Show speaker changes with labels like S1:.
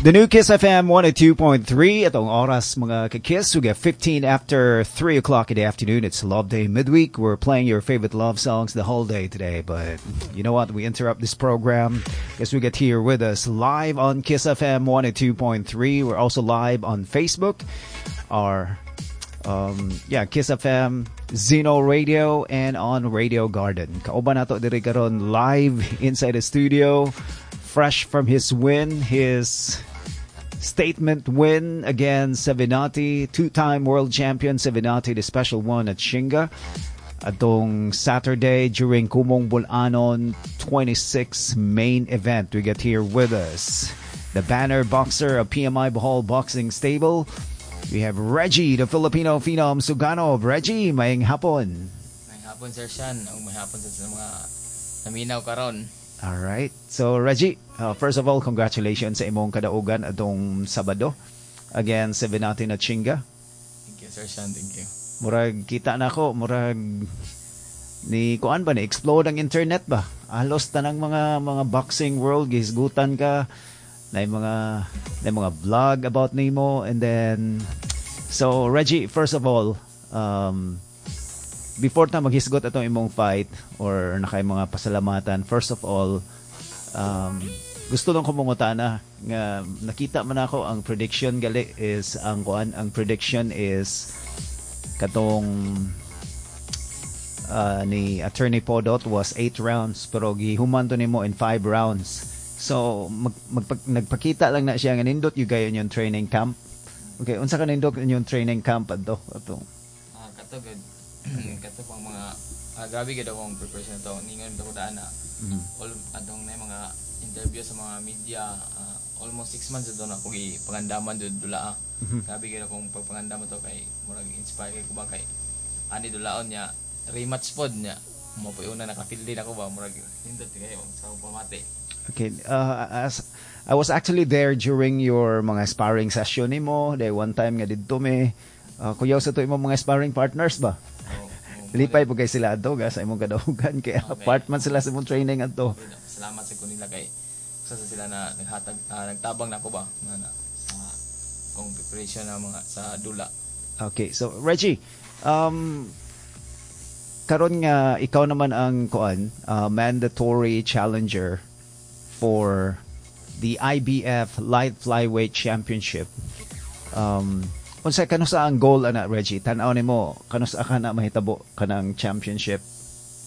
S1: The new Kiss FM 102.3. Atong oras, mga ka-Kiss. We get 15 after 3 o'clock in the afternoon. It's Love Day midweek. We're playing your favorite love songs the whole day today. But you know what? We interrupt this program because we get here with us live on Kiss FM 102.3. We're also live on Facebook. Our yeah, Kiss FM, Zeno Radio, and on Radio Garden. Kauban nato diri karon live inside the studio, fresh from his win, his statement win against Sevenati, two-time world champion Sevenati, the special one at Shinga, atong Saturday during Kumong Bulanon 26 main event. We get here with us the banner boxer of PMI Bohol Boxing Stable. We have Regie, the Filipino Phenom Suganob. Regie, maayong hapon.
S2: Maayong hapon, Sir Sean. Ug maayong hapon sa mga naminaw karon.
S1: All right. So Regie, first of all, congratulations sa imong kadaugan atong Sabado against Sevenati Nachinga.
S2: Thank you, Sir Sean. Thank you.
S1: Murag kita na ako, murag ni kuan ba, ni explode ang internet ba? Halos tanang mga boxing world gihisgutan ka na mga vlog about nimo. And then, so Regie, first of all, before ta maghisgot atong imong fight or nakay mga pasalamatan, first of all, gusto lang ko mangutana nga nakita man ako ang prediction gali is ang kuan, ang prediction is katong ni Attorney Podot was 8 rounds, pero gihuman to nimo in 5 rounds. So nagpakita lang na siya nga nindot gyud kayo inyong training camp. Okay, unsa ka nindot inyong training camp adto ato?
S2: Ah, kato gud. Kato pang mga grabe gud akong preparation to. Ningon ko daan na all atong na mga interview sa mga media, almost 6 months jud na ako gipangandaman jud dula. Grabe gud akong pagpangandaman to kay murag inspire kay ko ba, kay ani dulaon niya, rematch pod niya mo po una naka-feel din ako ba, murag nindot kayo sa akong pamati.
S1: Okay, as I was actually there during your mga sparring session nimo, day one time nga didto mi. Kuyaw sa to imong mga sparring partners ba?
S2: Oh.
S1: Lipay po kay sila adto ga sa imong kadaugan kay part man sila sa imong training adto.
S2: Salamat sa kanila kay usa sa sila na naghatag, nagtabang nako ba nga na sa kong preparation na mga sa dula.
S1: Okay, so Regie, karon nga ikaw naman ang kuan, mandatory challenger for the IBF Light Flyweight Championship. Unsa kanusa ang goal ana, Regie? Tan-aw nimo kanusa ka na mahitabo kanang championship?